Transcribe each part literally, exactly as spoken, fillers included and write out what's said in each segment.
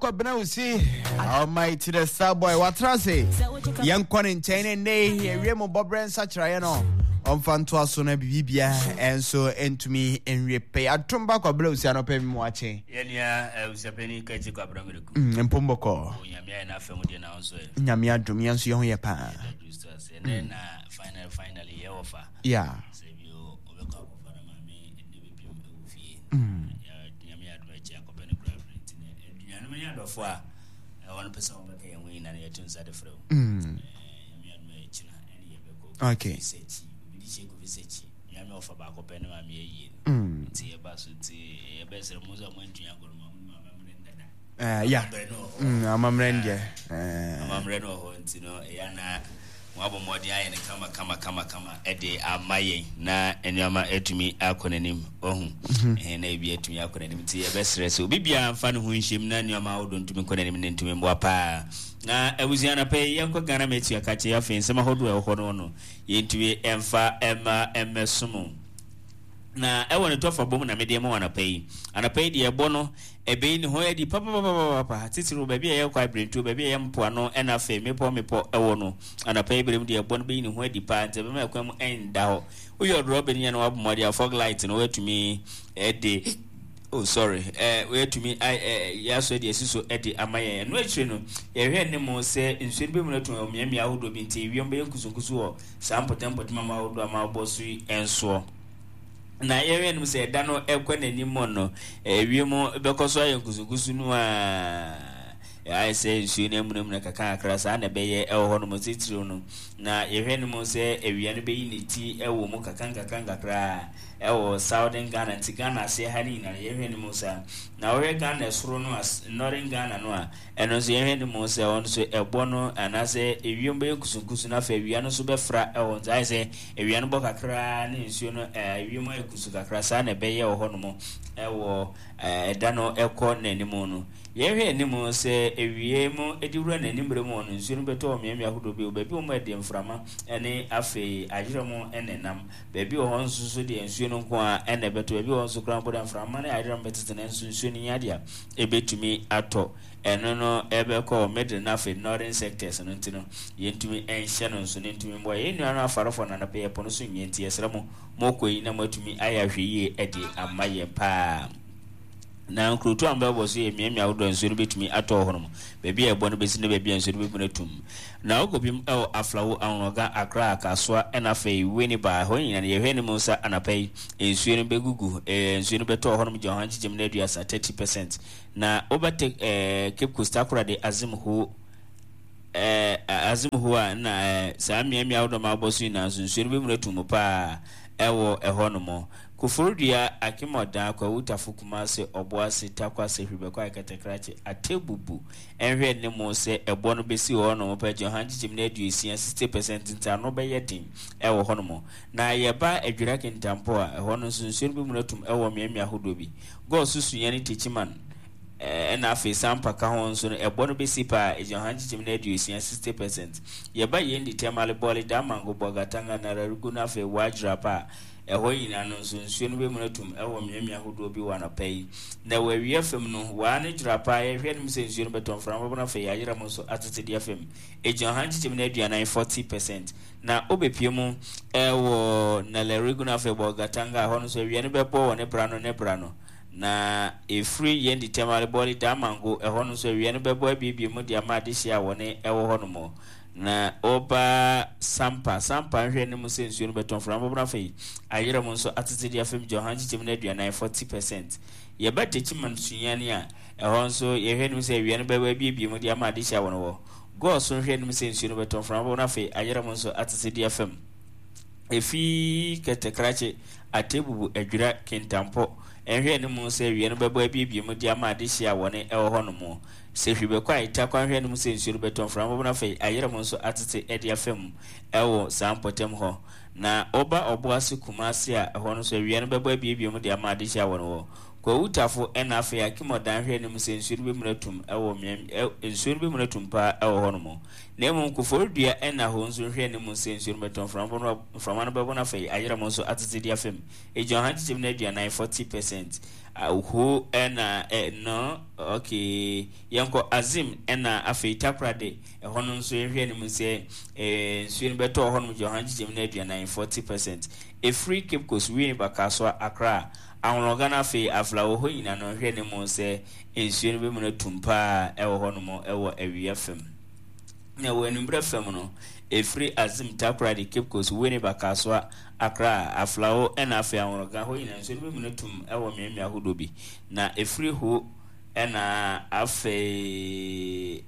Kwabena Usi, Almighty the Star Boy, watena ase. Yɛnkɔ ne nkyɛn ne nnɛ yi awie mu bɔberɛ nsakyeraeɛ no ɔmfa ntoa so na biribibia ɛnso ntumi nwie pɛ. Atom ba Kwabena Usi anɔpɛ mi mu akye. Yɛnua abusuapɛni Kɛkye Kwabena Miraku. Mm, mpom bɔkɔɔ. Onyame ayɛ n'afɛ mu deɛ na nso ɛ. Nyame adom, yɛn nso yɛn ho yɛ paa. Yɛda Kristo ase. Ɛnɛ na final finally yɛwɔ fa. Yeah. Sɛ bi o ɔbɛkɔ akɔfa na maame ɛnɛ bɛpiem ɛwɔ fie. Nyame adom akyi akɔpɛ no kura berɛ nti no aduanom ne adɔfo a ɛwɔ no pɛ sɛ wɔbɛka yɛn ho nyinaa no yɛto nsa de frɛ wo. Mm. Nyame adom akyina ɛne yɛbɛkɔ. Okay. Kofi Sekyi. Obi de hyɛ Kofi Sekyi. Nyame ɔfa baako pɛ ne maame ayie no. Mm. Nti yɛba so nti yɛbɛsrɛ mo sɛ moantumi agorɔ ma mo amammerɛ ndada. Uh, yeah. Amammerɛ no wɔ hɔ. Mm, amammerɛ no deɛ. Uh, Amammerɛ no wɔ hɔ nti no ɛyɛ na wɔabɔ mmɔden ayɛ no kama kama kama kama ɛde ama yɛn na nneɛma atumi akɔ n'anim ɔhu ɛhɛn na ebi atumi akɔ n'anim nti yɛbɛsrɛ sɛ obi biara mfa ne ho nhyɛm na nneɛma ahodoɔ ntumi nkɔ n'anim ne ntumi mmoa paa. Na abusua no pɛ yɛnkɔ Ghana Metua kakye. Afei nsɛm ahodoɔ a ɛwɔ hɔ no no yɛntumi ɛmfa ɛma ɛmmɛsom na ɛwɔ ne tɔfa bom na mede ma wɔ anapa yi. Anapa yi deɛ, ɛbɔ no ɛbɛyi ne ho adi papapapapa, titiri baabi a yɛkɔ abirentuo, baabi a yɛ mpoano, ɛna afei mmepɔ mmepɔ ɛwɔ no. Anapa yi berɛ mu deɛ, ɛbɔ no bɛyi ne ho adi paa, nti ɛbɛma ɛkwan mu ɛnda hɔ. Woyɛ ɔdorɔ ni yɛ na wabɔ mmɔden a fog light no woatumi ɛde, oh sorry, ɛɛ woatumi ɛ yɛasɔ de asi so ɛde ama yɛn. Ɛno akyire no, yɛhwɛ ne mu sɛ nsuo no bɛmu no atum wɔ mmeammea ahodoɔ bi, nti ewiem bɛyɛ nkusunkusu wɔ saa mpɔtam ama ahodoɔ ama abɔ so yi nsoɔ. Na yɛhwɛ no sɛ ɛda no ɛkɔ n'anim no, ewiem bɛkɔ so ayɛ nkusunkusu no a ayɛ sɛ nsuo no amunamuna kakra kakra. Saa na ɛbɛyɛ ɛwɔ hɔ nom titiriw no. Na yɛhwɛ no mu sɛ awia no bɛyi ne ti ɛwɔ mu kakra nkakra nkakra ɛwɔ Southern Ghana, nti Ghana aseɛ ha no nyinaa yɛhwɛ no mu saa. Na wɔhwɛ Ghana soro no a, Northern Ghana no a, ɛno nso yɛhwɛ no mu sɛ ɔno nso ɛbɔ no anaasɛ ewiem bɛyɛ nkusunkusu no, afei awia no nso bɛfra ɛwɔ, nti ayɛ sɛ awia no bɔ kakra ne nsuo no ɛɛ ewiem ayɛ kusu kakra. Saa na ɛbɛyɛ wɔ hɔnom ɛwɔ ɛda no ɛkɔ n'anim no. Yɛhwɛ anim sɛ ewie mu edi wura n'anim bere mu no, nsuo no bɛtɔ wɔ mmeammea ahodoɔ bi wɔ baabi wɔn ɛde mframa ɛne afei ayerɛ mu ɛna nam. Baabi wɔ hɔ nso so deɛ, nsuo no nko a ɛna ɛbɛtɔ. Baabi wɔ hɔ nso koraa mpo deɛ, mframa ne ayerɛ mu bɛtete, na nso nsuo no nyɛ adeɛ a ɛbɛtumi atɔ. Ɛno no ɛbɛkɔ middle na afei northern sectors no, nti no yɛntumi ɛnhyɛ no nso ne ntumi mboa yɛn nua no afarefo na anapɛ yɛpɔ no so nwie. Nti yɛsrɛ mo, mokɔ yi na moatumi ayɛ ahwɛ yie ɛde ama yɛn paa. Na nkurotu a mbɛbɔ so yɛ mmeammea ahodoɔ a nsuo no bɛtumi atɔ hɔ nom, baabi a ɛbɔ no bɛsi ne baabi a nsuo no bɛmu atum. Na wokɔpim ɛwɔ Aflawo, Anloga, Akra, Kasoa, ɛna afei Winneba, hɔ nyinaa no yɛhwɛ no mu sɛ anapa yi nsuo no bɛgugu, ɛɛ nsuo no bɛtɔ hɔ nom gya ɔha nkyekyɛm no aduasa, thirty percent. Na wobɛte ɛɛ Cape Coast, Takoradi, Axim ho ɛɛ Axim ho a na ɛɛ saa mmeammea ahodoɔ ma abɔ so nyinaa nso, nsuo no bɛmu atum paa ɛwɔ ɛhɔ nom. Koforidua, Akim Oda, Kwahu Tafo, Kumase, Ɔboase, Takwase, Hwibɛkɔ, Akɛtɛkrakye, Atebubu, ɛnhwɛ ne mu sɛ ɛbɔ no bɛsi hɔ nom pɛ gye ɔha nkyekyɛm no aduosia, sixty percent, nti ano bɛyɛ den ɛwɔ hɔ nom. Na yɛba Adwira Kintampo a, ɛhɔ no nso nsuo no bɛmu no atum ɛwɔ mmeammea ahodoɔ bi. Goaso, Sunyani, Techiman, ɛna afei Sampa ka ho nso no, ɛbɔ no bɛsi paa ɛgyina ɔha nkyekyɛm no aduosia, sixty percent. Yɛba yɛn di Tamale, Bɔle, Damango, Bolgatanga, Nalerigu no, afei Wagyira pa a, ɛhɔ nyinaa no nso nsuo no bɛmu no atum ɛwɔ mmeammea ahodoɔ bi wɔ anɔpa yi. Na wɔ awia fam no, waa ne dwira paa, yɛhwɛ no mu sɛ nsuo no bɛtɔ, mframa bɛbɔ no, afei ayerɛ mu nso atete deɛ fam ɛgyina ɔha nkyekyɛm no aduanan, forty percent. Na wobɛpie mu ɛwɔ Nalerigu no, afei Bolgatanga, hɔ no nso awia no bɛbɔ wɔ ne bra no ne bra no. Na ɛfiri yɛn di Tamale, Bɔle, Damango, ɛhɔ no nso awia no bɛbɔ abiebie mu de ama adehyeɛ a wɔne ɛwɔ hɔ nom. Na ɔba Sampa, Sampa nhwɛ ne mu sɛ nsuo no bɛtɔ, mframa bɛbɔ no, afei ayerɛ mu nso atete de afam gya ɔha nkyekyɛm no aduanan, forty percent. Yɛba Techiman, Sunyani a, ɛhɔ nso yɛhwɛ no mu sɛ awia no bɛbɔ abiebie mu de ama adehyeɛ a wɔn wɔ. Goaso nhwɛ no mu sɛ nsuo no bɛtɔ, mframa bɛbɔ no, afei ayerɛ mu nso atete de afam. Efi Kɛtɛkrakye, Atebubu, Adwira Kintampɔ, ɛnhwɛ no mu sɛ awia no bɛbɔ abiebie mu de ama adehyeɛ a wɔne ɛwɔ hɔ nom. Sɛ hwi bɛkɔ a ɛta kwan hwɛ no mu sɛ nsuo no bɛtɔ, mframa bɛbɔ no, afei ayerɛ mu nso atete de afam ɛwɔ saa mpɔtam hɔ. Na ɔba Ɔboase, Kumase a, ɛhɔ no nso awia no bɛbɔ abiebie mu de ama adehyeɛ a wɔn wɔ. Kwawutafo ɛna afei Akimɔdan hwɛ anim sɛ nsuo no bɛmuna tum ɛwɔ mmea nsuo no bɛmuna tum paa ɛwɔ hɔ nom. Na mmom Koforidua ɛna hɔ nso hwɛ anim sɛ nsuo no bɛtɔ, mframa no bɛbɔ no, afei ayerɛ mo nso atete de afam. Egyina ɔha nkyekyɛm no aduanan, forty percent. Ho ɛna ɛ no, okay, yɛnkɔ Azim ɛna afei Takoradi. Ɛhɔ no nso yɛhwɛ anim sɛ ɛɛ nsuo no bɛtɔ hɔ nom, gyina ɔha nkyekyɛm no aduanan, forty percent. Efiri Cape Coast, Winneba, Kasoa, Accra, Anloga no, afei Afla wɔ hɔ nyinaa no, hwɛ ne mu sɛ nsuo no bɛmu no tum paa ɛwɔ hɔ nom ɛwɔ awia fam. Na wɔ anwummerɛ fam no, ɛfiri Azim, Takoradi, Cape Coast, Winneba, Kasoa, Accra, Aflao ɛna afei Anloga hɔ nyinaa nsuo no bɛmu no tum ɛwɔ mmeammea ahodoɔ bi. Na ɛfiri hɔ ɛna afei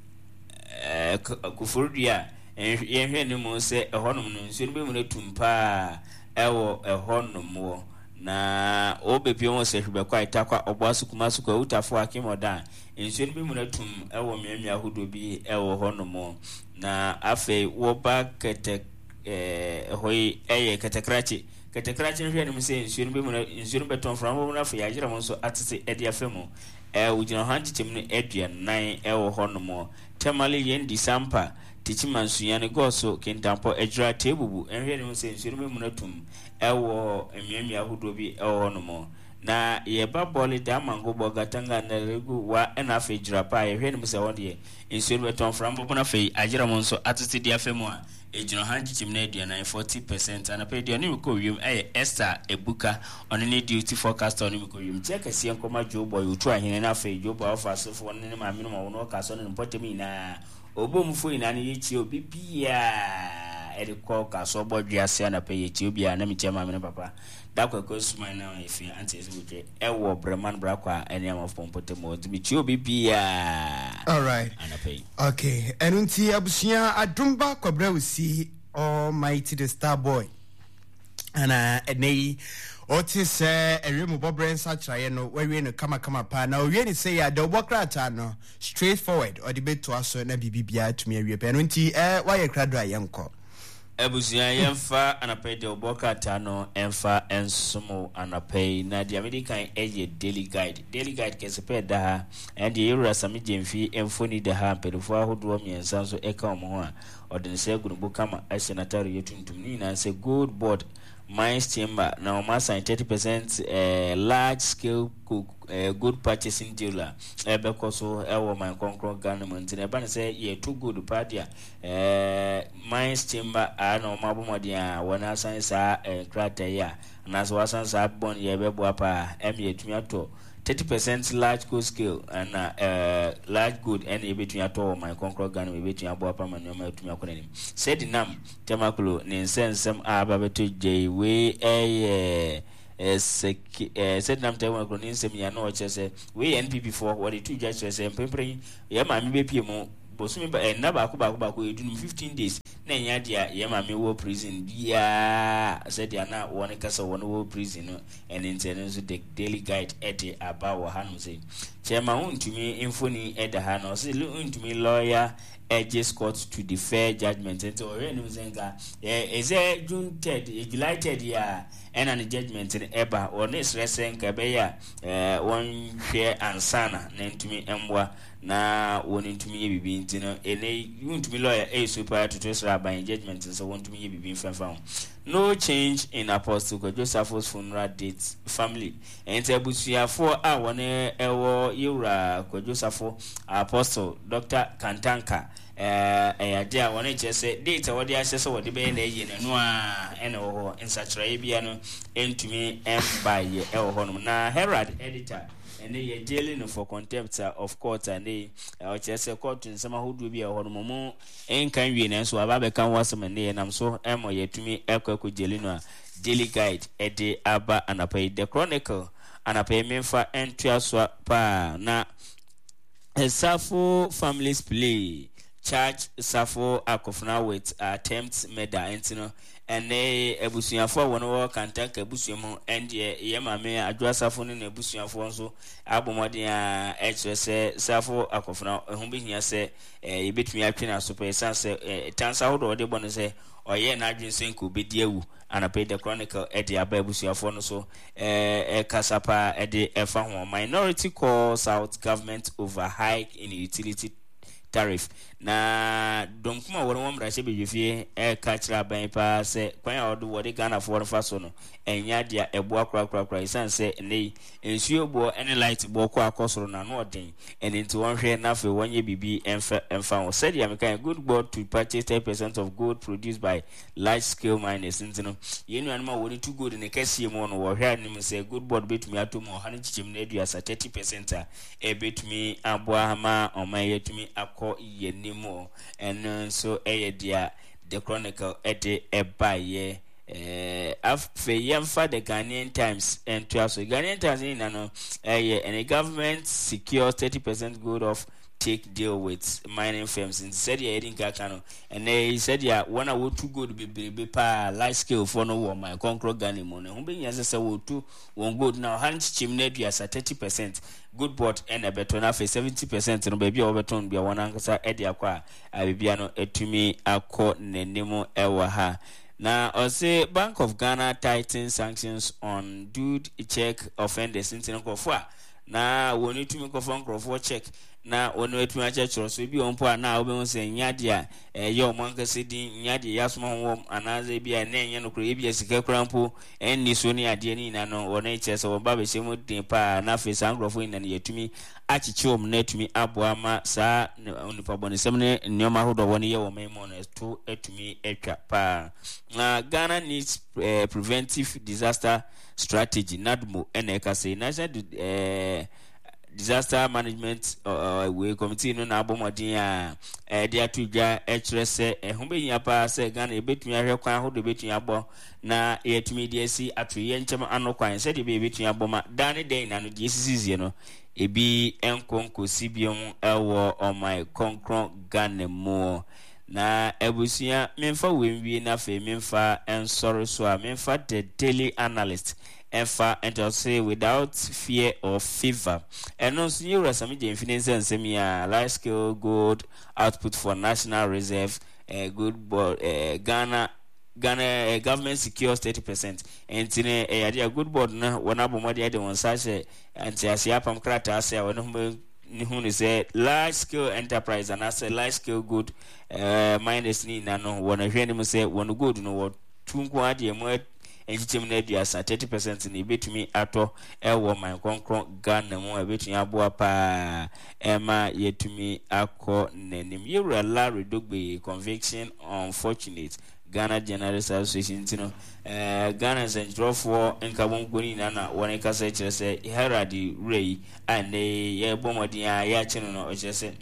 ɛɛ Koforidua, yɛnhwɛ ne mu sɛ ɛhɔnom no nsuo no bɛmu no tum paa ɛwɔ ɛhɔnom wɔ. Na wɔbɛpie wɔn sɛ Hwebɛkɔ a Itakwa, Ɔboaso, Kumasi, Awutafo, Akimɔdan, nsuo no bi mu no tum ɛwɔ mmeammea ahodoɔ bi ɛwɔ hɔnom. Na afei wɔba kɛtɛ ɛɛ ɛhɔ yi ɛyɛ Kɛtɛkrakye. Kɛtɛkrakye no, hwɛ anim sɛ nsuo no bi mu no, nsuo no bɛtɔn, mframa bɔ mu no, afei yɛagyerɛ mo nso atete ɛde afa mu. Ɛɛ wogyina hɔ nkyekyɛm no aduanan ɛwɔ hɔnom. Tamale, Yendi, Sampa, Tikyima, Nsunyane, Gɔɔso, Kintampɔ, Adwira, Teebubu, nhwɛ anim sɛ nsuo no bi mu no tum ɛwɔ mmeammea ahodoɔ bi ɛwɔ hɔnom. Na yɛba Bɔle, Damango, Bɔgatanga, Nalerigu wa ɛna afei Gyirapa a, yɛhwɛ anim sɛ wɔn deɛ nsuo no bɛtɔn, mframa bɔbɔ no, afei agyerɛ mo nso atete de afa mu a ɛgyina ha nkyekyɛm no aduanan, forty percent. Anapa aduane mi kɔ wiem ɛyɛ Esther Ebuka, ɔno ne duty forecaster. Ɔno mi kɔ wiem kyɛ kɛseɛ nkɔma Joe Boy otu ahene, na afei Joe Boy ɔfa asefoɔ ne ne maame no ma wɔn ɔka so ne ne mpɔtam nyinaa ɔbɔ nyinaa no. Yɛkyie obi biaa ɛde kɔ kaso bɔ dwease anapa. Yɛkyie obiaa na mekyia maame no papa dakwakwa suman na ɛfi ante sɛ wotwe ɛwɔ Brɛman Brakɔ a ɛne amafo mpɔtam hɔ, nti mekyie obi biaa Alright. anapa yi. Okay, ɛno nti abusua, Adomba Kwabrɛ Osi, Almighty the Star Boy, ana ɛnɛ yi ɔte sɛ ɛwie mu bɔberɛ nsakyerɛeɛ no wawie no kamakama paa, na ɔwie ne sɛ yɛ ada ɔbɔ krataa no straight forward, ɔde bɛtoa so na biribi biara tumi awie pɛ. Ɛno nti ɛ wayɛ krado a yɛnkɔ. Abusua, yɛmfa anapa yi deɛ ɔbɔ krataa no ɛmfa nsom anapa yi. Na deɛ mede kan ɛyɛ Daily Guide. Daily Guide kɛse pɛ da ha. Ɛn deɛ yɛwura Sammy Gyamfi mfoni da ha, mpanimfoɔ ahodoɔ mmiɛnsa nso ɛka wɔn ho a ɔde ne nsa agu ne bo kama, ɛhyɛ n'ataare yɛ tuntum. Ne nyinaa sɛ Gold Board Mines Chamber na wɔn asan thirty percent eh, large scale eh, gold purchasing deal a ɛbɛkɔ so ɛwɔ man kɔnkɔn Ghana mu. Nti na ɛba ne sɛ yɛto gold paa deɛ, eh, Mines Chamber a na wɔn abɔ mmɔden a wɔn asan saa eh, nkrataa yi a anaasɛ wɔasan saa bond yɛ ɛbɛboa paa ɛmi yɛtumi atɔ thirty percent large gold scale ɛna ɛɛ large gold ɛna yɛbɛtumi atɔ wɔ man kɔnkɔn Ghana mu. Yɛbɛtumi aboa paa ma nneɛma yɛtumi akɔ n'anim. Sɛdi nam Tamaklo ne nsɛnsɛm a aba bɛtɔ gya yi, wei ɛyɛ ɛsɛki ɛɛ Sɛdi nam Tamaklo ne nsɛm yi a na ɔkyerɛ sɛ wei yɛ N P P foɔ wɔde to dwa kyerɛ sɛ mpempere yɛ maame bɛpie mu bosome ba ɛnna baako baako baako edunum, fifteen days, na ɛnyɛ adeɛ a yɛ maame wɔ prison biara sɛdeɛ na wɔn kasa wɔn wɔ prison no. Ɛne nti ɛno nso The Daily Guide ɛde aba wɔ hanom sɛ Chairman Wontumi mfoni ɛda ha, na ɔsɛ Wontumi lawyer urges court to defer judgement. Nti ɔhwɛ anim sɛ nka ɛsɛ June third, July third yi a ɛna ne judgement no ɛba. Wɔne srɛ sɛ nka ɛbɛyɛ a wɔnhwɛ ansana na ntumi mmoa na wɔn ntumi yɛ biribi. Nti no ɛnɛ Wontumi lawyer ɛyɛ so paa toto srɛ aban judgement nso wɔntumi yɛ biribi mfɛmfa ho. No change in Apostle Kwadwo Safo's funeral date, family. Nti abusuafoɔ a wɔn ɛwɔ yɛwura Kwadwo Safo, Apostle Doctor Kantanka, ɛɛ ɛyɛ adeɛ a wɔn kyerɛ sɛ date a wɔde ahyɛ sɛ wɔde bɛyɛ na ɛyɛ n'ano a ɛna ɛwɔ hɔ. Nsakyerɛeɛ bia no ntumi mbaeɛ ɛwɔ hɔnom. Na Herald editor ɛne yɛ jailing no for contempt of court a ne ɔkyerɛ sɛ court nsɛm ahodoɔ bi a ɛwɔ hɔ no mo nka nwie, nanso aba abɛka ho asɛm. Ɛne yɛ nam so ɛmɔ yɛtumi ɛkɔ ɛkɔ jail no a Daily Guide ɛde aba anapa yi. The Chronicle anapa yi, memfa ntoa so paa na Safo families plea Charge Safo Akofena with attempt murder. Nti no ɛnɛ abusuafoɔ a wɔn wɔ Kantanka abusua mu, ɛndeɛ yɛ maame Adwoa Safo ne n'abusuafoɔ nso abɔ mmɔden a ɛkyerɛ sɛ Safo Akofena ɛho behia sɛ ɛɛ yɛbɛtumi atwe n'aso pɛ, ɛsiane sɛ ɛɛ tansa ahodoɔ a ɔde bɔ no sɛ ɔyɛ n'adwene sɛ nka obɛdi awu. Anapɛ The Chronicle ɛde aba, abusuafoɔ no so ɛɛ ɛkasa paa ɛde ɛfa ho. Minority calls out government over hike in utility tariff, na dɔnkum a wɔn wɔ mmarahyɛ badwafie ɛreka kyerɛ aban paa sɛ kwan a wɔde wɔde Ghanafoɔ no fa so no ɛnyɛ adeɛ a ɛboa korakorakora, ɛsiane sɛ ɛnɛ yi nsuo boɔ ne light boɔ kɔ akɔ soro na ano ɔden. Ɛno nti wɔnhwɛ na afei wɔnyɛ biribi ɛmfa ɛmfa ho. Sɛdeɛ meka, Gold Board to purchase ten percent of gold produced by large scale miners. Nti no yɛn nuanom a wɔde tu gold ne kɛseɛ mu no, wɔhwɛ anim sɛ Gold Board bɛtumi atɔ mu ɔha no kyekyɛm no aduasa, thirty percent a ɛbɛtumi aboa ma ɔman yɛtumi akɔ yɛn anim. Ɛno nso ɛyɛ deɛ The Chronicle ɛde ɛbaeɛ. ɛɛ afei yɛmfa The Ghanaian Times ntoa so. Ghanaian Times nyinaa no ɛyɛ ɛne government secure thirty percent gold off take deal with mining firms. Nti sɛdeɛ yɛde nka ka no, ɛnɛ yi sɛdeɛ wɔn a wɔtu gold bebrebe paa, large scale foɔ no wɔ ɔman kɔnkorɔ Ghana mu no, ɛho bɛnyia sɛ sɛ wɔtu wɔn gold na ɔha no kyekyɛm no aduasa, thirty percent, Gold Board ɛna ɛbɛtɔ, na afei seventy percent no, baabi a wɔbɛtɔn bia wɔn ankasa ɛde akɔ a abibia no atumi akɔ n'anim. Ɛwɔ ha na ɔse Bank of Ghana tighten sanctions on dud check offenders. Nti no nkurɔfoɔ a na wɔn tumi nkɔfɔ nkurɔfoɔ check na wɔn atumi akyerɛkyerɛ so ebi wɔn mpo a na wɔbɛhu sɛ nya deɛ a ɛyɛ wɔn ankasa din, nya deɛ yɛasoma ho wɔm, anaasɛ ebi a ɛnɛ ɛnyɛ nokorɛ, ebi a sika kura mpo ɛnni so ne adeɛ ne nyinaa no, wɔn kyerɛ sɛ wɔn ba bɛhyɛ mu den paa, na afei saa nkurɔfoɔ nyinaa no yɛtumi akyekye wɔn na atumi aboa ma saa nipa bɔnesɛm ne nneɛma ahodoɔ wɔn yɛ wɔn mu no ɛto atumi atwa paa. Na Ghana needs uh, preventive disaster strategy, NADMO ɛna ɛka sɛ National uh, Disaster Management uh, wei committee no na abɔ mmɔden a ɛde ato dwa ɛkyerɛ sɛ ɛho bɛhia paa sɛ Ghana yɛbɛtumi ahwɛ kwan ahodoɔ bɛtumi abɔ na yɛtumi de asi ato yɛn nkyɛn ano kwan, sɛdeɛ bɛyɛ yɛbɛtumi abɔ ma daa ne dan nyinaa no deɛ esisisie no ebi nkɔ nkɔsi biom ɛwɔ ɔman kɔnkɔn Ghana mu. Na abusua, memfa wei nwie na afei memfa nsɔre so a memfa The Daily Analyst ɛfa nti ɔse "Without fear or favour". Ɛno nso yɛwura Sammy Gyamfi ne nsa nsɛm yi a large scale gold output for national reserve, uh, Gold Board, uh, Ghana Ghana uh, government secures thirty percent. Nti ne ɛyɛ adeɛ a Gold Board no wɔn abɔ mmɔden de wɔn nsa ahyɛ nteaseɛ apam krataa ase a wɔn ho ne hu ne sɛ large scale enterprise anaasɛ large scale gold uh, miners ne nyinaa no, wɔn ahwɛ anim sɛ wɔn gold no wɔtu nko adeɛ mu nkyekyɛm no aduasa, thirty percent na ebetumi atɔ ɛwɔ man kronkron Ghana mu a ebetumi aboa paa ɛma yɛtumi akɔ n'anim. Yɛwura Larry Dogbe conviction unfortunate, Ghana Journalist Association. Nti no ɛɛ Ghana nsɛntwerɛfoɔ nkabomkuo no nyinaa na wɔn kasa kyerɛ sɛ Herald wura yi a nnɛ yɛbɔ mmɔden a yɛakye no no ɔkyerɛ sɛ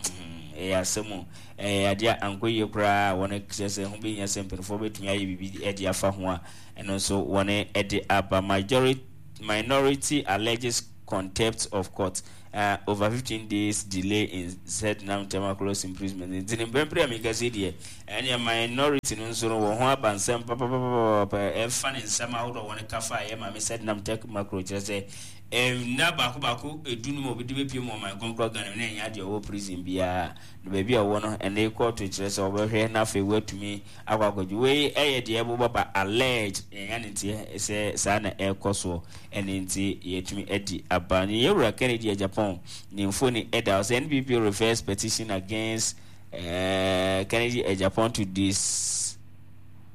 ɛyɛ asɛm o, ɛyɛ adeɛ a ankɔ yie koraa. Wɔn kyerɛ sɛ ho bɛnya sɛ mpanimfoɔ bɛtumi ayɛ biribi de afa ho a ɛno nso wɔn de aba. Majority minority alleges contempt of court uh, over fifteen days delay in Sedinam Tamaklo's imprisonment. Nti ne mpɛmpere a meka sɛ deɛ ɛneɛ minority no nso no wɔn ho aba nsɛm papapapapa ɛfa ne nsɛm ahodoɔ wɔn kafa a ɛyɛ maame Sedinam Tamaklo, kyerɛ sɛ nna baako baako edu no mu obi de bɛpie mu ɔman kɔnkɔn Ghana mu na ɛnyɛ adeɛ ɔwɔ prison biara na baabi a ɔwɔ no, ɛne kɔɔto kyerɛ sɛ ɔbɛhwɛ na afei watumi akɔ akɔgye. Wei ɛyɛ deɛ ɛbobɔ ba alleged, ɛnya ne nteɛ sɛ saa na ɛrekɔ soɔ. Ɛne nti yɛtumi adi aba ne yɛwura Kennedy Agyapong ne mfoni ɛda hɔ sɛ N P P refers petition against uh, Kennedy Agyapong to this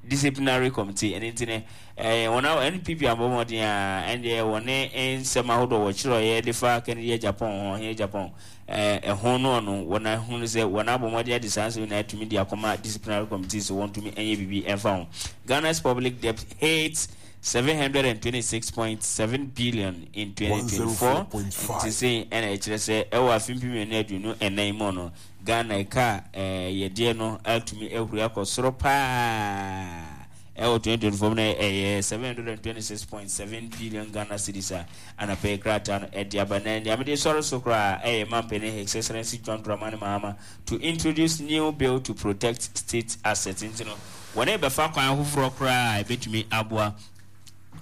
disciplinary committee. Ɛne nti ne ɛɛ wɔn a N P P abɔ mmɔden a ɛndeɛ wɔne nsɛm ahodoɔ wɔkyerɛeɛ de fa Kennedy Agyapong ho, ɔhene Agyapong ɛɛ ɛho no ɔno wɔn ahunu sɛ wɔn abɔ mmɔden ade saa nsɛm nyinaa atumi de akɔma disciplinary committee so wɔntumi nyɛ biribi ɛmfa ho. Ghana's public debt hits seven hundred and twenty-six point seven billion in twenty twenty-four. Nti sɛ ɛna ɛkyerɛ sɛ ɛwɔ afe mpem mmienu aduonu ɛnan mu no, Ghana ɛka ɛɛ yɛdeɛ no atumi ahuri akɔ soro paa. ɛwɔ twenty twenty four no ɛyɛ seven hundred and twenty six point seven billion Ghana cedis a anapɛ krataa no ɛde aba. Na nea mede sɔre so koraa ɛyɛ mampanin His Excellency John Dramani Mahama to introduce new bill to protect state assets. Nti no wɔne bɛfa kwan foforɔ koraa a ɛbɛtumi aboa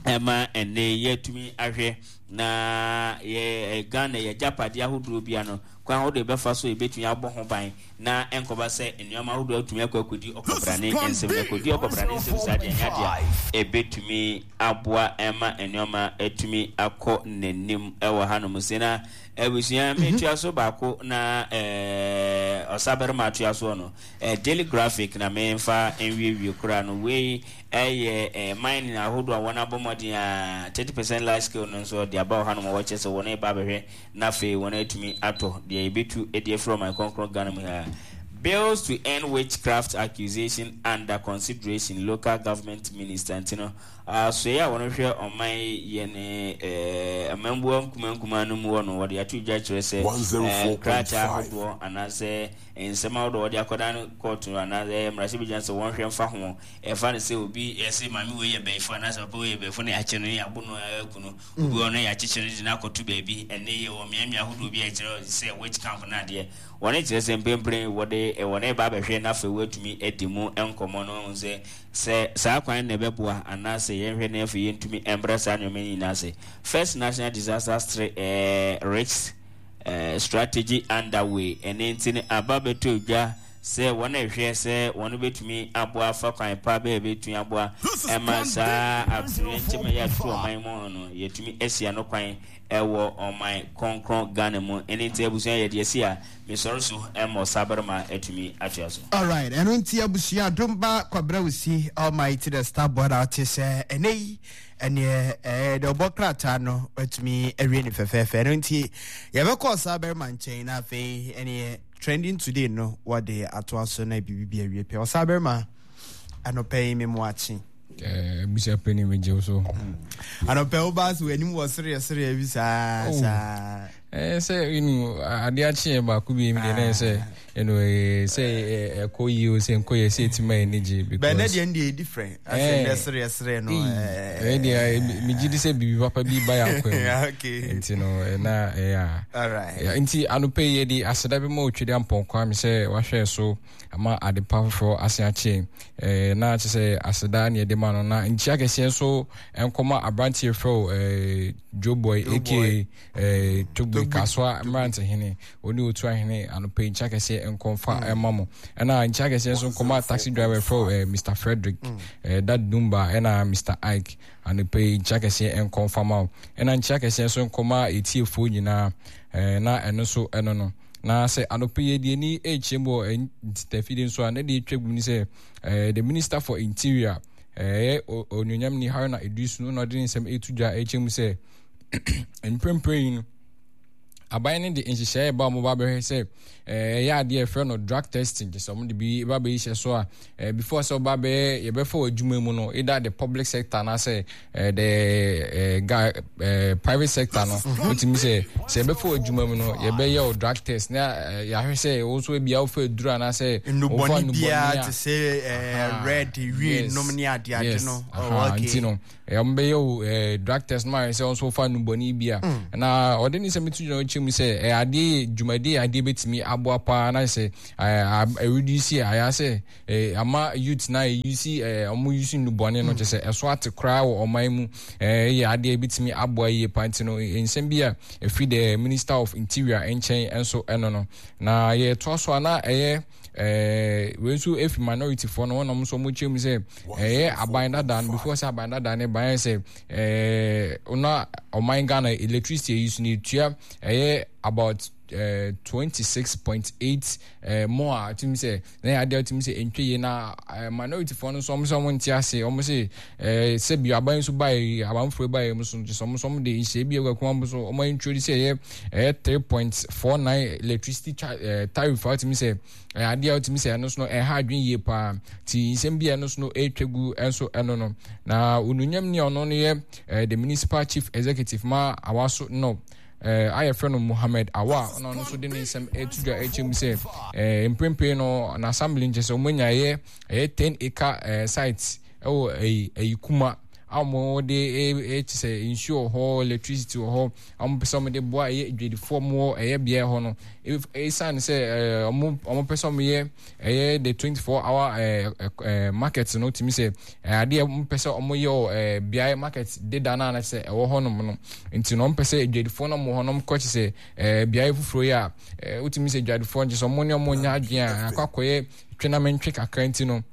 ɛma ɛnɛ yɛtumi ahwɛ na yɛ Ghana yɛ agyapadeɛ ahodoɔ bia no kwan ahodoɔ yɛbɛfa so yɛbɛtumi abɔ ho ban na ɛnkɔba sɛ nneɛma ahodoɔ atumi akɔ akɔdi ɔkɔbrane nsɛm. Na akɔdi ɔkɔbrane nsɛm saa deɛ, nyɛ adeɛ a ɛbɛtumi aboa ɛma nneɛma atumi akɔ n'anim ɛwɔ hanom. Se na abusua, metua so baako na ɛɛ ɔsabarima atoa soɔ no, ɛɛ Daily Graphic na memfa nwiewie koraa no. Wei ɛyɛ ɛɛ mining ahodoɔ a wɔn abɔ mmɔden a thirty percent large scale no nso de aba wɔ hanom a wɔkyerɛ sɛ wɔn reba abɛhwɛ na afei wɔn atumi atɔ deɛ yɛbɛtu de afiri ɔman kronkron Ghana mu ha. Bills to end witchcraft accusation under consideration, local government minister. Nti no asoɛ a wɔn hwɛ ɔman yɛ ne ɛɛ amambuo nkuma nkuma no mu wɔ no, wɔde ato dwa kyerɛ sɛ ɛɛ krataa ahodoɔ anaasɛ nsɛm ahodoɔ wɔde akɔda no kɔɔto anaasɛ mmarahyɛbadwa sɛ wɔn hwɛ mfa ho. Ɛfa no sɛ obi ɛsɛ maame wei yɛ bɛyifo anaasɛ papa wei yɛ bɛyifo na yɛakyɛ no, yɛabo no aku no, obi wɔ no yɛakyekyere no de no akɔto baabi. Ɛnɛ yɛ wɔ mmeammea ahodoɔ bi a ɛkyerɛ sɛ witch camp no adeɛ wɔne kyerɛ sɛ mprempren wɔde wɔne ba abɛhwɛ na afei wɔatumi adi mu nkɔmmɔ no ho sɛ sɛ saa kwan na ɛbɛboa anaasɛ yɛnhwɛ na afei yɛntumi mbrɛ saa nneɛma yi nyinaa ase. First national disaster eh, risk eh, strategy underway. Ɛne nti no aba bɛtɔ dwa sɛ wɔn a ɛhwɛ sɛ wɔn bɛtumi aboa afa kwan pa bɛyɛ bɛtumi aboa ɛma saa atoyerɛnkyɛm a yɛato ɔman mu no yɛtumi asia no kwan ɛwɔ ɔman kronkron Ghana mu. Ɛne nti abusua, yɛde asi a mesɔre so ɛma ɔsabarima atumi atoa so. Alright, ɛno nti abusua, Domba Kwabra Wusi Almighty the Star Boy na ɔte sɛ ɛnɛ yi ɛneɛ ɛɛ deɛ ɔbɔ krataa no watumi awie ne fɛfɛɛfɛ. Ɛno nti yɛbɛkɔ ɔsabarima nkyɛn na afei ɛneɛ trending today no wɔde atoa so na biribi bi awie pɛ. Ɔsabarima, anɔpɛ yi me mu akye. Busia panyin, megye wo so. Anɔpɛ wo ba so w'anim wɔ sereɛ sereɛ bi saa saa. Ɛɛ sɛ you know adeɛ akye yɛ baako bi mi deɛ na yɛ sɛ you know sɛ ɛkɔ yie o, sɛ nkɔ yie, sɛ eti ma yɛ ni gye. Because bɛn ne deɛ deɛ different asɛ ndɛ sereɛ sereɛ no. Ɛɛ deɛ megye di sɛ biribi papa bi ba yɛ akɔ mu nti no ɛna ɛyɛ a nti anɔpɛ yi yɛde aseda bi ma Otwede Ampɔnkwa mi sɛ wahwɛ so ama ade pa foforɔ ase akye ɛɛ na kyerɛ sɛ aseda ne yɛde ma no. Na nkyia kɛseɛ nso nkɔma aberanteɛ frɛ o ɛɛ Joe Boy aka ɛɛ Togbe Kasoa mmerantehene ɔne otu ahene. Anɔpɛ yi nkyia kɛseɛ nkɔmfa ɛma mo. Ɛna nkyia kɛseɛ nso nkɔma taxi driver frɛ o ɛɛ Mister Frederick, ɛɛ Dad Dumba ɛna Mister Ike. Anɔpɛ yi nkyia kɛseɛ nkɔmfa ma wo. Ɛna nkyia kɛseɛ nso nkɔma etiefoɔ nyinaa. ɛɛ na ɛno nso ɛno no na sɛ anɔpɛ yi deɛ ni ɛrekyerɛ mu wɔ ntafidie nso a na deɛ atwa gu ni sɛ ɛɛ the Minister for Interior, ɛyɛ Onuonyam ni Haruna Iddrisu no na ɔde ne nsɛm ɛreto dwa ɛrekyerɛ mu sɛ mprempren yi no aban no de nhyehyɛe ba a wɔba abɛhwɛ sɛ ɛyɛ adeɛ ɛfrɛ no drug testing, kyerɛ sɛ wɔde bi ba bɛyi hyɛ so a before sɛ wɔba bɛyɛ yɛbɛfa wɔ adwuma mu no, either the public sector anaasɛ the uh, private sector no, wotumi sɛ sɛ yɛbɛfa wɔ adwuma mu no, yɛbɛyɛ wɔ drug test na yɛahwɛ sɛ wo nso ebia wofa aduru anaasɛ wofa nnubɔne biara te sɛ red wie nom ne adeade no. Nti no wɔn bɛyɛ o drug test no ayɛ sɛ wɔn nso fa nnubɔne bi a mm. Na ɔde ne nsɛm to gyina ɔkyɛ mu sɛ ɛyɛ adeɛ dwumadie yɛ adeɛ bɛtumi aboa paa na sɛ ɛreduce ayɛ sɛ ama youth na ɛyusi wɔn yusi nnubɔne no, kyɛ sɛ ɛso ate koraa wɔ ɔman mu. Ɛyɛ adeɛ bɛtumi aboa yie paa. Nti no nsɛm bi a ɛfiri the Minister of Interior nkyɛn nso ɛno no na yɛtoa so a na ɛyɛ ɛɛ wei nso efi minority foɔ no, wɔn nam nso wɔn kyerɛ mu sɛ ɛyɛ aban dada no, before sɛ aban dada no ban sɛ ɛɛ na ɔman Ghana electricity yi so no etua ɛyɛ about ɛɛ twenty six point eight ɛɛ more a tumi sɛ na yɛ adeɛ tumi sɛ ntwe yie. Na ɛɛ minority foɔ no nso wɔn sɛ wɔn nte ase, wɔn sɛ ɛɛ sɛbi aban nso ba yi, abanfoɔ ba yi nso nso wɔn nso wɔn de nhyɛ bi ɛwɔ ɛkwan so wɔn introduce sɛ ɛyɛ ɛyɛ three point four nine electricity ɛɛ tariff a tumi sɛ ɛyɛ adeɛ a tumi sɛ ɛno nso no ɛha adwene yie paa. Ti nsɛm bi a ɛno nso no ɛretwa gu ɛnso ɛno no na Onuonyam ni a ɔno no yɛ ɛɛ the Municipal Chief Executive ma Awaso no ɛɛ ayɛ fɛ no Muhammed Awa, ɔno ɔno nso de ne nsɛm ɛto dwa ɛkyɛ mu sɛ ɛɛ mprempren no na assembly nkyɛ sɛ wɔn anya ɛyɛ ɛyɛ ten acre ɛɛ site ɛwɔ ɛyi ɛyi kuma a wɔde ɛ kyɛ sɛ nsuo wɔ hɔ, electricity wɔ hɔ, a wɔpɛ sɛ wɔde boa ɛyɛ adwadifoɔ mu wɔ ɛyɛ beaeɛ hɔ no. Ɛsiane sɛ ɛɛ wɔn wɔn pɛ sɛ wɔyɛ ɛyɛ the twenty four hour ɛɛ ɛɛ market no, tumi sɛ ɛɛ adeɛ wɔn pɛ sɛ wɔyɛ wɔ ɛɛ beaeɛ market deda no a na sɛ ɛwɔ hɔnom no nti no, wɔn pɛ sɛ adwadifoɔ no wɔ hɔnom kɔ kyɛ sɛ ɛɛ beaeɛ foforɔ yi a ɛɛ wotumi sɛ adwadifoɔ nkyɛ sɛ wɔn ne wɔn nya adwene a akɔ akɔyɛ twenamɛntwe kakra. Nti no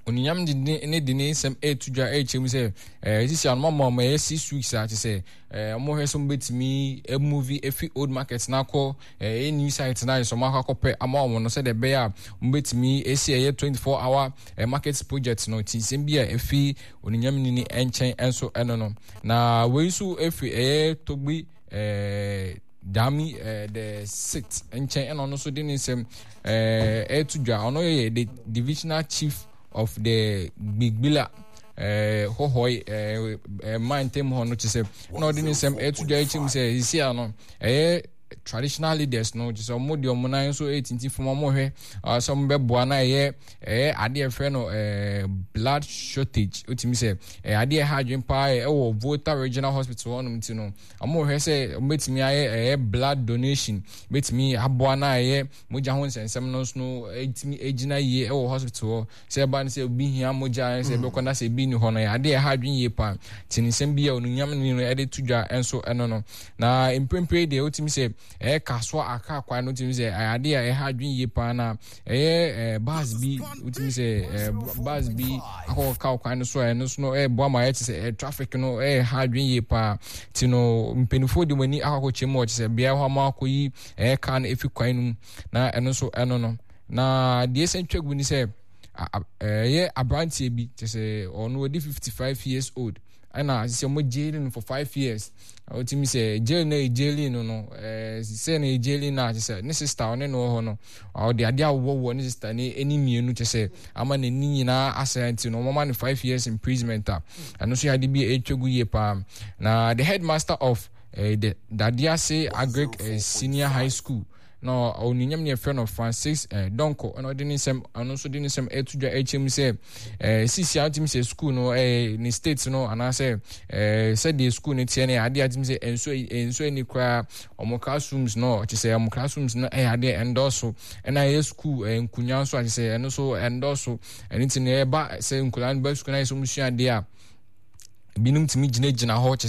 Onyame de ne ne de ne nsɛm ɛreto dwa ɛrekyerɛ mu sɛ ɛɛ sisi ano mama ɔmo ɛyɛ six weeks a kyerɛ sɛ ɛɛ ɔmo hwɛ sɛ ɔmo bɛtumi ɛmove efi old market na akɔ ɛyɛ new site na ayɛ sɛ ɔmo akɔ akɔpɛ ama ɔmo no, sɛdeɛ ɛbɛyɛ a ɔmo bɛtumi esi ɛyɛ twenty four hour ɛɛ market project no. Ti nsɛm bi a efi Onyame ne ne nkyɛn ɛnso ɛno no, na wei nso efi ɛyɛ Togbi ɛɛ Dami ɛɛ the Sixth nkyɛn, ɛna ɔno nso de ne nsɛm ɛɛ ɛɛto dwa. Ɔno yɛ the divisional chief of the Gbigbila ɛɛ Hɔhɔi ɛɛ ɛɛ man ntam hɔ no, kyerɛ sɛ ɛna ɔde ne nsɛm ɛɛto dwa akyi mu sɛ sisi ano ɛyɛ traditional leaders no, kyerɛ sɛ ɔmo de ɔmo nan nso ɛretinti fam, ɔmo hwɛ sɛ ɔmo bɛboa na ɛyɛ ɛyɛ adeɛ ɛfrɛ no ɛɛ blood shortage. Otumi sɛ ɛyɛ adeɛ ɛha adwene paa ɛwɔ Volta Regional Hospital hɔnom, ti no ɔmo hwɛ sɛ ɔmo bɛtumi ayɛ ɛyɛ blood donation, bɛtumi aboa na ɛyɛ mogya ho nsɛnsɛm no nso no ɛtumi egyina yie ɛwɔ hospital hɔ, sɛ ɛba no sɛ obi hia mogya, sɛ ɛbɛkɔ na sɛ ebi ni hɔ no, yɛ adeɛ ɛha adwene yie paa. Te ne nsɛm bi a Onunyam ne no ɛde to dwa nso ɛno no. Na mprempren deɛ, wotumi sɛ ɛyɛ Kasoa Aka kwan no, wotumi sɛ ɛyɛ adeɛ a ɛha adwene yie paa, na ɛyɛ ɛɛ bus bi, wotumi sɛ ɛɛ bus bi akɔkɔ kwan no so a ɛno nso no ɛɛboa ma ɛyɛ te sɛ ɛɛ traffic no ɛɛha adwene yie paa. Ti no mpanimfoɔ de wɔn ani akɔkɔ kyɛm wɔ kyɛ sɛ beaeɛ hɔ ama akɔyi ɛyɛ kaa no efi kwan no mu, na ɛno nso ɛno no. Na deɛ ɛsɛn twa gu ni sɛ ɛyɛ aberanteɛ bi, kyɛ sɛ ɔno ɔdi fifty five years old, ɛna sɛ ɔmo jail no for five years. Ɔtumi sɛ jail no yɛ jail no no ɛɛ sɛ no yɛ jail no a, kyɛ sɛ ne sister ɔne no wɔ hɔ no, ɔde adeɛ awowɔ ne sister ne ani mmienu, kyɛ sɛ ama n'ani nyinaa asɛe, nti no ɔmo ama no five years imprisonment a ɛno nso yɛ ade bi a ɛtwa gu yie paa. Na the headmaster of uh, the Dadease Agric uh, Senior High School na onyonyam ne yɛfrɛ no Francis eh, Donko, ɛna ɔde ne nsɛm, ɔno nso de ne nsɛm ɛto dwa ɛkyɛ mu sɛ eh, sisi a wotumi sɛ school no eh, ne state no anaasɛ eh, sɛdeɛ school no teɛ no, adeɛ a wotumi sɛ nsuo nsuo ani koraa. Ɔmo classrooms no, kyɛ sɛ ɔmo classrooms no ɛyɛ adeɛ ɛndɔɔso, ɛna ɛyɛ school eh, nkonnwa nso a kyɛ sɛ ɛno nso ɛndɔɔso. Ɛno nti no ɛba sɛ nkonnwa no ba school na yɛ sɛ ɔmo sua adeɛ a, binom tumi gyinagyina hɔ, kyɛ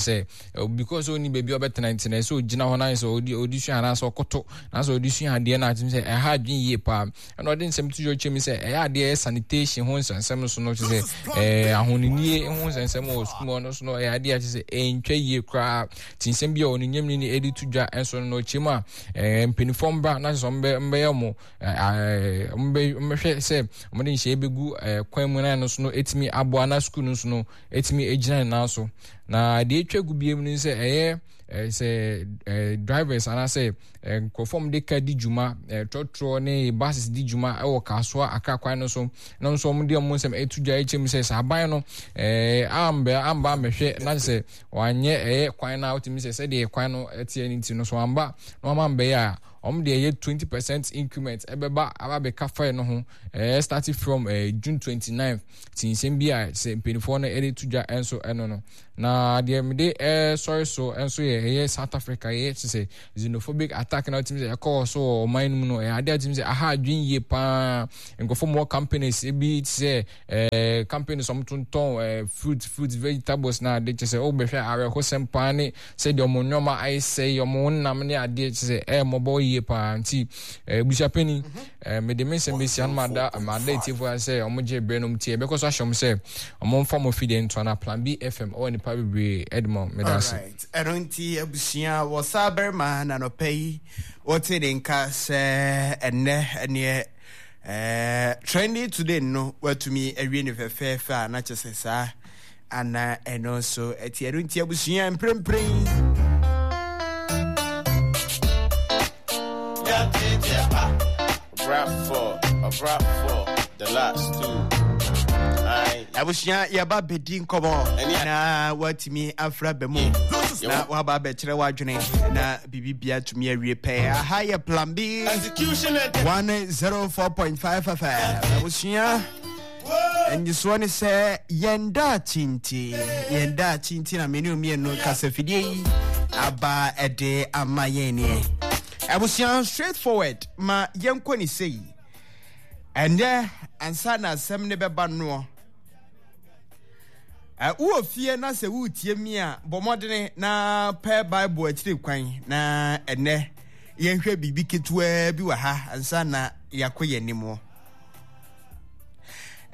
sɛ because ɔni baabi a ɔbɛtena nti na ɛsɛ ɔgyina hɔ na sɛ ɔdi ɔdi sua anaasɛ ɔkoto anaasɛ ɔdi sua adeɛ no, atumi sɛ ɛha adwene yie paa. Ɛna ɔde nsɛm to dwa kyɛm sɛ ɛyɛ adeɛ ɛyɛ sanitation ho nsɛnsɛm so no, kyɛ sɛ ɛɛ ahonenie ho nsɛnsɛm wɔ sukuu mu no so no, ɛyɛ adeɛ a kyɛ sɛ ɛntwa yie koraa. Ti nsɛm bi a ɔno nyam ni ɛde to dwa nso no, ɔkyɛm a ɛɛ mpanimfoɔ mbra na kyɛ sɛ ɔmbɛ mbɛyɛ ɔmo ɛɛ ɔmbɛhwɛ sɛ ɔmo de nhyɛn bɛgu ɛɛ kwan mu na ɛno so no ɛtumi aboa na sukuu no so no ɛtumi gyina ne nan so. Na deɛ atwa gu biem no sɛ ɛyɛ ɛɛ sɛ ɛɛ drivers anaasɛ ɛɛ nkurɔfoɔ a wɔde car di dwuma, ɛɛ trɔtrɔ ne buses di dwuma ɛwɔ Kasoa Akra kwan no so na nso wɔn de wɔn nsɛm ɛto dwa ɛkyɛ mu sɛ sɛ aban no ɛɛ amba amba ambɛhwɛ na sɛ wanyɛ ɛyɛ kwan no a, wotumi sɛ sɛdeɛ kwan no ɛteɛ no nti no so amba na wɔn ambɛyɛ a, wɔn deɛ ɛyɛ twenty percent increment ɛbɛba aba abɛka fare no ho, ɛɛ starting from ɛɛ June twenty nine. Ti nsɛm bi a sɛ mpanimfoɔ no ɛde to dwa nso ɛno no. Na deɛ mede ɛsɔre so nso yɛ ɛyɛ South Africa, ɛyɛ kyerɛ sɛ xenophobic attack na wotumi sɛ ɛkɔɔ so wɔ ɔman no mu no, ɛyɛ adeɛ a wotumi sɛ aha adwene yie paa. Nkurɔfoɔ mu wɔ companies ebi te sɛ ɛɛ companies wɔn tontɔn ɛɛ fruit fruit vegetables na ade, kyerɛ sɛ ɔbɛhwɛ awerɛhosɛm paa ne sɛdeɛ wɔn nneɛma ayɛ sɛe, wɔn nam ne adeɛ, kyerɛ sɛ ɛyɛ mmɔbɔ yie paa. Nti ɛɛ busuapɛni, ɛɛ mede me nsɛm bɛsi ano. Mada mada etiefoɔ sɛ wɔn gye berɛ nom tie. Ɛbɛkɔ so ahyɛ wɔn sɛ wɔn mfa wɔn fidie ntoa na Plan B F M ɔwɔ nipa bebree ɛde mɔ. Meda ase. Ɛno nti abusua, wɔ saa barima na nɔpɛ yi wɔte ne nka sɛ ɛnnɛ ɛneɛ ɛɛ trending today no watumi awie ne fɛfɛɛfɛ a na kyɛ sɛ saa ana ɛno nso ɛte. Ɛno nti abusua, mprempren Rap for, a rap for the last two. Aye. Abusua, yɛba bɛdi nkɔmmɔ na watumi afra ba mu na waba abɛkyerɛ w'adwene na biribibia tumi awie pɛɛ. Aha yɛ Plan B Execution and one oh four point five F M. Abusua, Nyisoɔ ne sɛ yɛn daakye nti, yɛn daakye nti na mene mmienu kasafidie yi aba ɛde ama yɛn neɛ. Abusua, straight forward, ma yɛnkɔ ne sei. Ɛnɛ ansa na asɛm ne bɛba noɔ. Wowɔ fie na sɛ woretie mi a, bɔ mmɔdene na pɛ Bible akyiri kwan na ɛnɛ yɛnhwɛ biribi ketewaa bi wɔ ha ansa na yɛakɔ yɛn anim.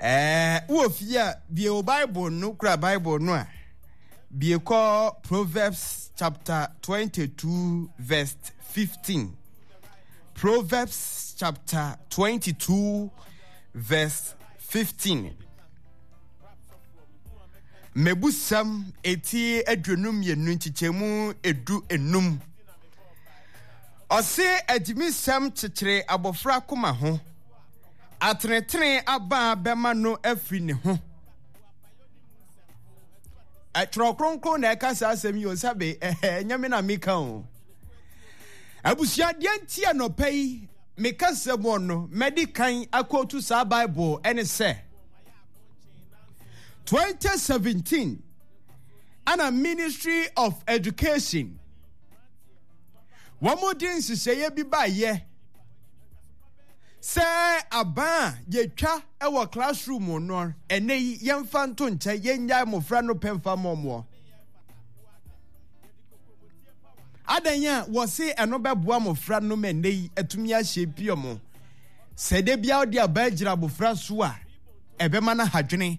Ɛɛ wowɔ fie a, bie wo Bible no, kura Bible no a, bie kɔ Proverbs chapter twenty-two verse fifteen. Proverbs chapter twenty-two verse fifteen. Mebusɛm eti aduonu mmienu nkyekyɛmu edu enum. Ɔse agyimisɛm kyekyere abɔfra koma ho. Atenetene aba bɛma no afiri ne ho. Twerɛ Kronkron na ɛka saa asɛm yi o, sɛbe ɛnyɛ me na meka o. Abusua, deɛ nti anɔpa yi meka sɛ mo no mɛdi kan akɔtu saa Bible ɛne sɛ twenty seventeen ana Ministry of Education wɔn de nhyehyɛeɛ bi baayɛ sɛ aban a yɛtwa wɔ classroom no, ɛnɛ yi yɛmfa nto nkyɛn, yɛnnyae mmɔfra no pɛ mfa mmɔmmoɔ. Adan a wɔse ɛno bɛboa mmɔfra no ma ɛnɛ yi atumi ahyɛ pii ɔmo sɛ da biara wode aba agyina abɔfra so a, ɛbɛma no hadwene.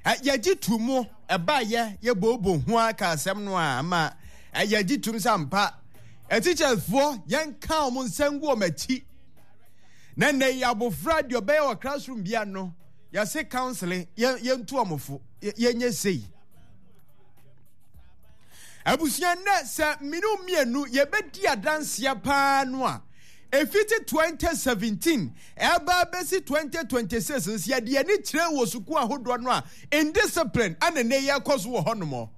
Yɛgye to mu ɛbaayɛ yɛbɔɔbɔ ho aka asɛm no a ama yɛgye tom sɛ ampa atikyafoɔ yɛnka wɔn nsa ngu wɔn akyi. Na nnɛ yi abɔfra deɛ ɔbɛyɛ wɔ classroom bia no, yɛse counseling, yɛntu wɔn fo, yɛnyɛ sei. Abusua, nnɛ sɛ mene mmienu yɛbɛdi adanseɛ paa no a, ɛfiti twenty seventeen ɛba bɛsi twenty twenty-six nso, yɛde ani kyerɛ wɔ sukuu ahodoɔ no a, indiscipline ana nnɛ yɛkɔ so wɔ hɔnom.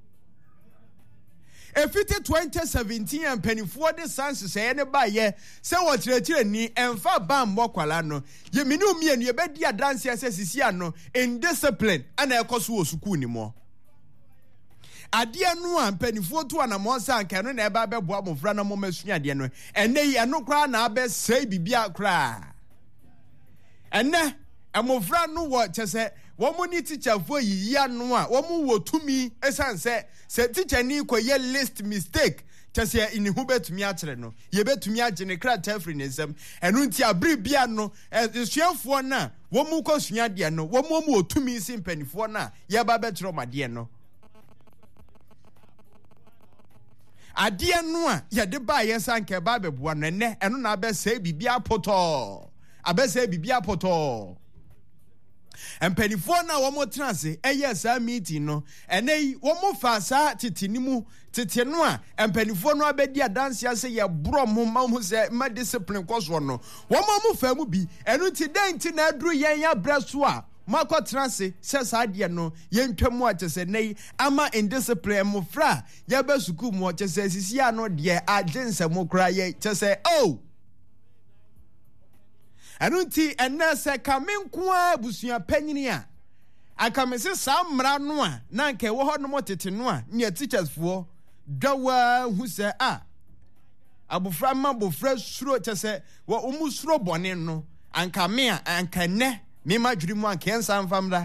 Ɛfiti twenty seventeen a mpanimfoɔ de saa nhyehyɛeɛ no baeɛ sɛ wɔkyerɛkyerɛni ɛmfa ban mmɔ kwala no, yɛmene mmienu yɛbɛdi adanseɛ sɛ sisi ano indiscipline ana ɛkɔ so wɔ sukuu no mu. Adeɛ no a mpanimfoɔ tu anammɔn sɛ anka ɛno na ɛba bɛboa mmɔfra na mmɔma sua adeɛ no, ɛnɛ yi ɛno koraa na abɛsɛe biribiara koraa. Ɛnɛ mmɔfra no wɔ kyɛ sɛ wɔn ne tikyafoɔ yiyi ano a, wɔn wɔ tumi, ɛsiane sɛ sɛ tikyani kɔyɛ least mistake kyɛ sɛ ne ho bɛtumi akyerɛ no, yɛbɛtumi agye ne krataa firi ne nsam. Ɛno nti abere bia no, asuafoɔ no a wɔn kɔ sua adeɛ no, wɔn wɔn wɔ tumi si mpanimfoɔ no a yɛba bɛkyerɛ wɔn adeɛ no. Adeɛ no a yɛde baayɛ sɛ anka ɛba abɛboa no, ɛnɛ ɛno na abɛsɛe biribi apotɔɔ, abɛsɛe biribi apotɔɔ. Mpanimfoɔ no a wɔn tena ase ɛyɛ saa meeting no, ɛnɛ yi wɔn fa saa tete no mu, tete no a mpanimfoɔ no abɛdi adanseɛ sɛ yɛborɔ mo ma mo sɛ ma discipline kɔ soɔ no, wɔn a wɔn fa mu bi. Ɛno nti dɛn nti na aduru yɛn abrɛ so a moakɔtena ase sɛ saa adeɛ no yɛntwa mu, a kyɛ sɛ nnɛ yi ama indiscipline, mmɔfra a yɛba sukuu mu kyɛ sɛ sisi ano deɛ agye nsɛm koraa yɛ kyɛ sɛ oh. Ɛno nti ɛnɛ sɛ ka me nko ara abusua panyini a, anka me se saa mmara no a na anka ɛwɔ hɔ nom tete no a nea teachers foɔ dwawaa hu sɛ a abofra ma abofra suro kyɛ sɛ wɔn suro bɔne no, anka me a anka nnɛ me ma dwere mu anka yɛnsa mfa mmra.